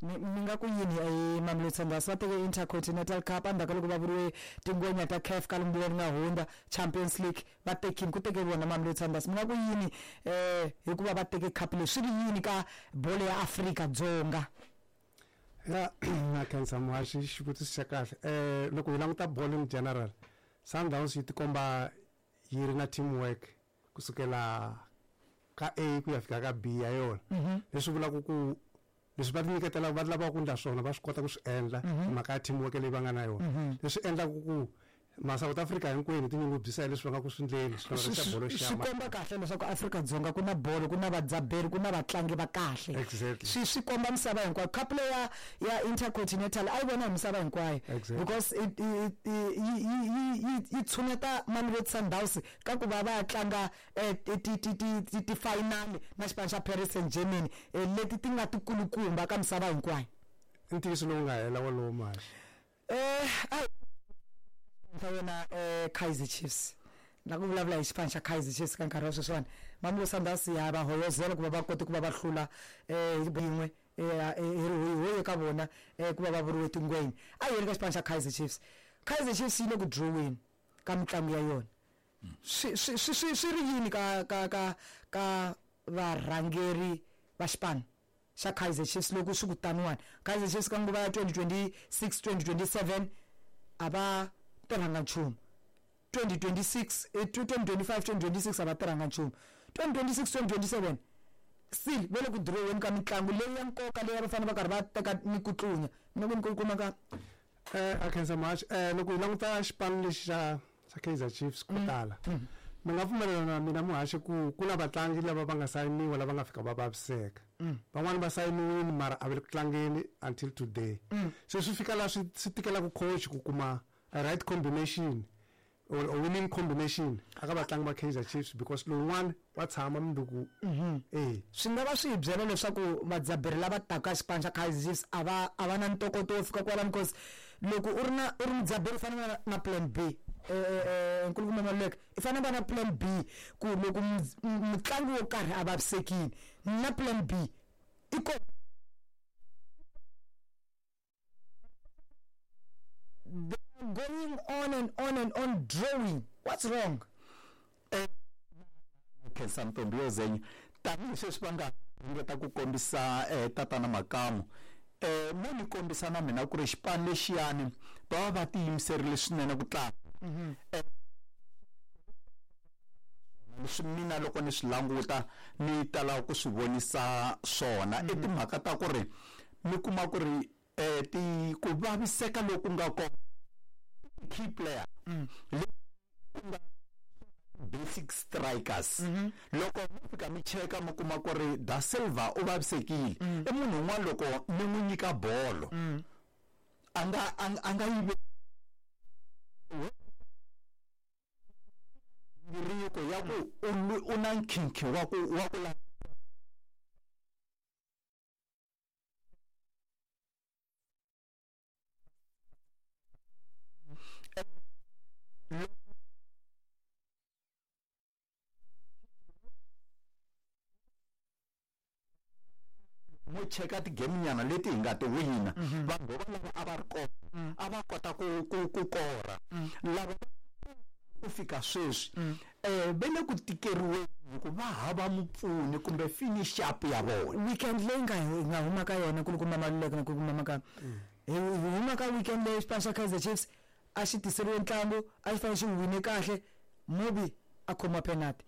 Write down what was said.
Mi nga ku yini hi Mamelodi Sundowns? Va teke Intercontinental Cup endzhaku ka loko va vuriwe tingwenya ta CAF ka lembe leri nga hundza, Champions League va tekini, ku teke vona Mamelodi Sundowns. Mi nga ku yini hikuva va teke cup leyi, swi ri yini ka bolo ya Afrika-Dzonga? Ya, na khensa muhaxi, xivutiso xa kahle. Loko hi languta bolo in general, Sundowns yi tikomba yi ri na teamwork kusukela ka A ku ya fika ka B ya yona. Leswi vulaka ku leswi va tinyiketelaka va lavaka ku endla swona va swi kota ku swi endla hi mhaka ya teamwork leyi va nga na yona. Leswi endlaka ku ma South Africa hinkwenu tinyungubyisa hi leswi va nga ku swi endleni, swi xa bolo xa Swi komba kahle leswaku Afrika-Dzonga ku na bolo, ku na vadzaberi, ku na vatlangi va kahle. Swi komba misava hinkwayo. Cup leyi ya Intercontinental a yi vona hi misava hinkwayo. Because yi tshuneta Mamelodi Sundowns ka ku va va ya tlanga ti-final na xipano xa Paris Saint-Germain leti ti nga tikulukumba ka misava hinkwayo. I ntiyiso lowu nga hela wolowo mali. A wena Kaizer Chiefs, na ku vulavula hi xipano xa Kaizer Chiefs ka nkarhi wa sweswiwani, Mamelodi Sundowns ya va hoyozela ku va va kote ku va va hlula hi yin'we hi ri ka vona ku va va vuriwe tingwenya. A hi yeni ka xipano xa Kaizer Chiefs. Kaizer Chiefs yi le ku draw-weni ka mitlangu ya yona. Swi ri yini ka ka ka ka varhangeri va xipano xa Kaizer Chiefs loko swi ku taniwani? Kaizer Chiefs ka nguva ya 2026 2027 a va tirhanga nchumu, 2026 2025 2026 a va tirhanga nchumu, 2026 2027 still va le ku draw-weni ka mitlangu leyi ya nkoka leyi a va fanele va karhi va teka ni ku tlunya. Mina ku ni ku kuma ka A khensa much. Loko hi languta xipano lexi xa Kaizer Chiefs ko tala, mi nga pfumelelana na mina muhaxi ku ku na vatlangi lava va nga sayiniwa lava nga fika va vaviseka. Van'wani va sayiniwile mara a va le ku tlangeni until today. Se swi fika laha swi tikelaka coach ku kuma a right combination or a winning combination aka vatlangi va Kaizer Chiefs, because lowun'wani wa tshama mundzuku. Swi nga va swi hi byela leswaku vadzaberi lava taka xipano xa Kaizer Chiefs a va na ntokoto wo fika kwalano, because loko u ri na u ri mudzaberi u fanele na plan B. Nkulukumba Maluleke, i fanele va na plan B ku loko mutlangi wo karhi a vavisekile, na plan B i ko. They are going on and on and on drawing. What's wrong? Khensa Ntombi yo Zenya, tanihileswi va nga ringeta ku kombisa tatana Makamu, mo ni kombisa na mina ku ri xipano lexiyani va va va tiyimiserile swinene ku tlanga. Leswi mina loko ni swi languta ni tala ku swi vonisa swona i timhaka ta ku ri mi kuma ku ri ti ku vaviseka loku nga kona key player ku nga basic strikers. Loko mi fika mi cheka mi kuma ku ri Da Silva u vavisekile, i munhu un'wana loko mi n'wi nyika bolo a nga yi riko ya ku u na nkhinkhi wa ku wa ku mo cheka ti-game nyana leti hi nga ti wina, vanhu vo lava a va ri kona a va kota ku kora lava ku fika sweswi ve le ku tikeriweni ku va hava mupfuni kumbe finish up ya vona. Weekend leyi nga hi nga huma ka yona nkulukumba Maluleke na nkulukumba Makamu, hi huma ka weekend leyi xipano xa Kaizer Chiefs a xi tiseriwe ntlangu, a xi fanele xi wine kahle, Mobi a khomiwa penalty.